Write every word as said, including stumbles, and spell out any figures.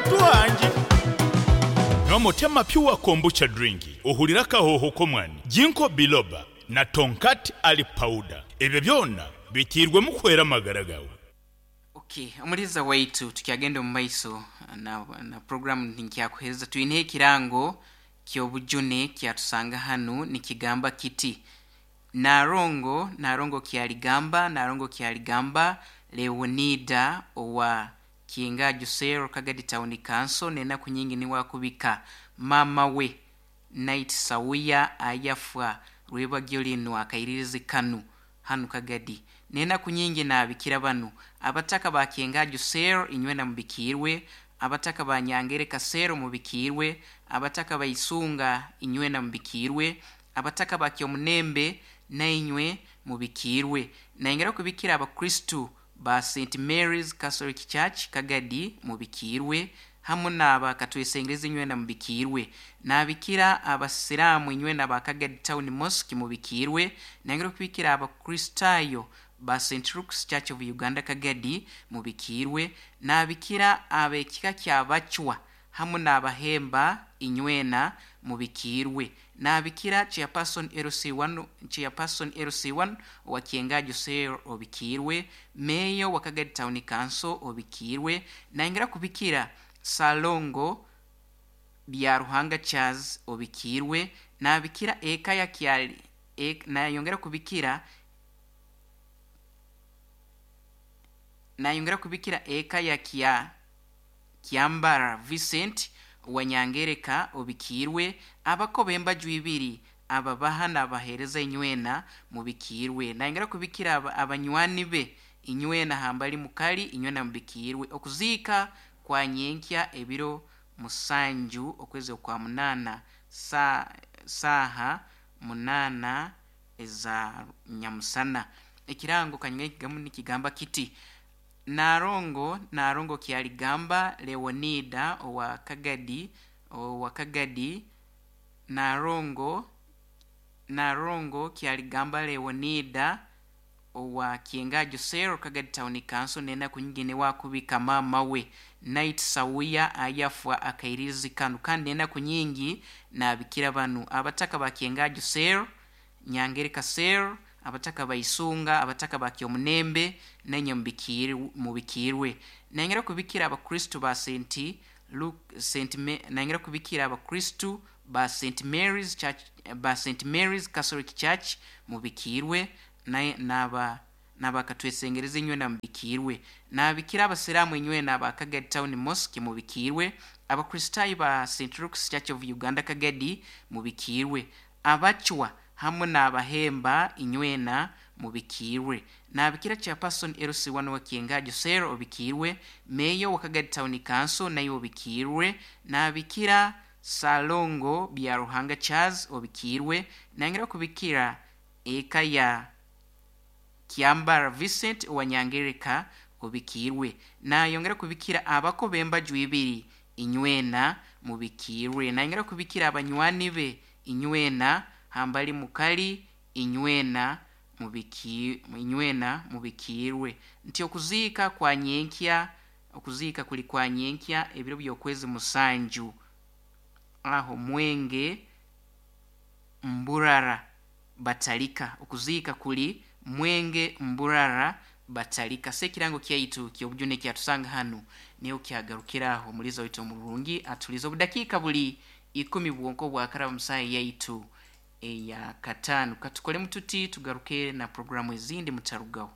Muntu wangye. Nywa Motema Pure Kombucha Drink ohurire akahooho k'omwani, Ginkgo Biloba na Tongkat Ali Powder. Ebyo byona biteirwemu kuhwera amagara gaawe. Okay, omuliza waitu, tukyagenda omu maiso na, na programu nkyakuhereza. Twineho ekirango ky'obujune kyatusanga hanu, nikigamba kiti: Narongo, Narongo Kyaligamba, Narongo Kyaligamba Leonida owa Kyengaju Cell, Kagadi Town Council, n'enaku nyingi niwakubika mama we Night Sawuya ayafwa rwebagyo linu akairirizi kanu hanu Kagadi. N'enaku nyingi naabikira banu: abataka ba Kyengaju Cell, inywena mubikiirwe; abataka ba Nyangereka Cell, mubikiirwe; abataka ba Isunga, inywena mubikiirwe; abataka ba Kyomunembe, nainywe mubikiirwe. Nayongera kubikira abakristu ba Saint Mary's Catholic Church Kagadi, mubikiirwe, hamu n'aba Katwesengereza, inywena mubikiirwe. Nabikira abasiraamu inywena ba Kagadi Town Mosque, mubikiirwe. Nayongera kubikira abakristaayo ba Saint Luke's Church of Uganda Kagadi, mubikiirwe. Nabikira ab'ekika kyabacwa hamu n'abahemba, inywena mubikiirwe. Nabikira chairperson L C one, chairperson L C one owa Kyengaju Cell, obikiirwe; meeyo wa Kagadi Town Council, obikiirwe. Nayongera kubikira Salongo Bya Ruhanga Charles, obikiirwe. Nabikira eka ya Kyali e, nayongera kubikira nayongera kubikira eka ya Kya Kyambara Vincent wa Nyangereka, obikiirwe. Abako b'embaju ibiri, ababaha n'abaheereza, inywena mubikiirwe. Nayongera kubikira aba- abanywani be inywena hambali mukali, inywena mubikiirwe. Okuziika kwa nyenkya ebiro musanju okwezi okwa munaana, sa, saaha munaana eza nyamusana. Ekirango kanywa kigamu nikigamba kiti: Narongo, Narongo Kyaligamba Leonida owa Kagadi, owa Kagadi, Narongo, Narongo Kyaligamba Leonida owa Kyengaju Cell, Kagadi Town Council, n'enaku nyingi newakubika maama we Night Sawuya ayafwa akairirizi kanu, kandi n'enaku nyingi nabikira banu: abataka ba Kyengaju Cell, Nyangereka Cell, abataka ba Isunga, abataka ba Kyomunembe, nenye mubikiirwe mubikiirwe. Nayongera kubikira abakristu ba Saint Luke Saint Ma- nayongera kubikira abakristu ba Saint Mary's Church, ba Saint Mary's Catholic Church, mubikiirwe, naye naba nabakatwesengereza, inywena mubikiirwe. Nabikira abasiraamu inywena aba Kagadi Town Mosque, mubikiirwe; abakristaayo ba Saint Luke's Church of Uganda Kagadi, mubikiirwe; abacwa hamwe n'abahemba, inywena mubikiirwe. Nabikira chairperson L C one wa Kyengaju Cell, obikiirwe; meeyo wa Kagadi Town Council, naye obikiirwe. Nabikira Salongo Bya Ruhanga Charles, obikiirwe. Nayongera kubikira eka ya Kyambara Vincent owa Nyangereka, obikiirwe. Nayongera kubikira abako b'embaju ibiri, inywena mubikiirwe. Nayongera kubikira abanywani be inywena hambali mukali, inywena mubiki inywena mubikiirwe. Nti okuziika kwa nyenkya, okuziika kuli kwa nyenkya ebiro by'okwezi musanju aho Mwenge Mburara Batalika. Okuziika kuli Mwenge Mburara Batalika. Se ekirango kyaitu kyobujune kyatusanga hanu niyo kyagarukiraho. Omuliza waitu omurungi atuliza obudakiika buli ikumi bwonko bwakaraba musaha yaitu eya kataano. Katukolemu tuti, tugaruke na programu ezindi, mutarugaho.